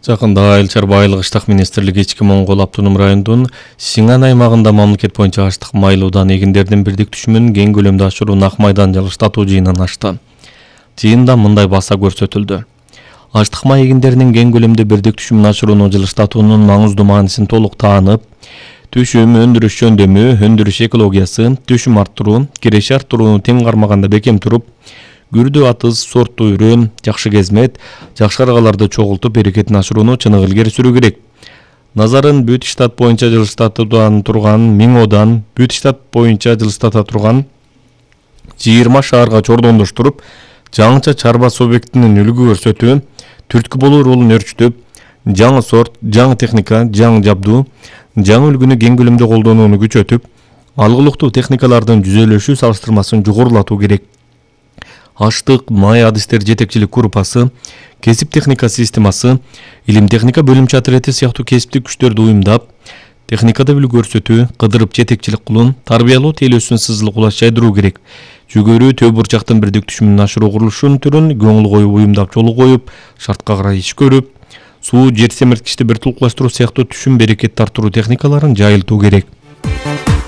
Жакында Айыл чарба айылык ыштак министрлиги Ички Моңгол автоном районунун Сиңан аймагында мамлекет боюнча аштык майлуудан эгиндердин бирдик түшүмүн кең көлөмдө ашыруун ак майдан жылыштатуу жыйынын ачты. Жыйында мындай баса көрсөтүлдү. Аштык май эгиндеринин кең көлөмдө бирдик түшүмүн ашырууну жылыштатуунун маңыздуу маанисин толук таанып, түшүм, өндүрүш жөндөмү, өндүрүш экологиясы, түшүм арттыруу, киреше арттырууну тең кармаганда бекем туруп, күрдүү атыз, сорттуу үрөн, жакшы кезмет, жакшы каргаларды чогултуп берекетин ашырууну чыныгы илгери сүрүү керек. Назарын бүт штат боюнча жылыштатуудан турган 1000 одан бүт штат боюнча жылыштата турган 20 шаарга чордондоштуруп, жаңыча чарба субъектинин үлгү көрсөтүү, түрткү болуу ролун өрчүтүп, жаңы сорт, жаңы техника, жаңы жабдуу, жаңы үлгүнү кең көлөмдө колдонууну күчөтүп, алгылыктуу техникалардын жүзөлөшүү салыштырмасын жогорулатуу керек. Аштык май адистер жетекчилик группасы, кесип техника системасы, илим техника бөлүмчө отряды сыяктуу кесиптик күчтөрдү уюмдап, техникада үлгү көрсөтүү, кыдырып жетекчилик кылуу, тарбиялоо тейлөөсүн сызылык улас жайдыруу керек. Жүгөрү төө бурчактын бирдик түшүмүн ашыруу курулушунун түрүн көңүл коюп уюмдап жолу коюп, шартка карай иш көрүп, суу, жер семирткичти бир тулукташтыруу сыяктуу түшүм берекетти арттыруу техникаларын жайылтуу керек.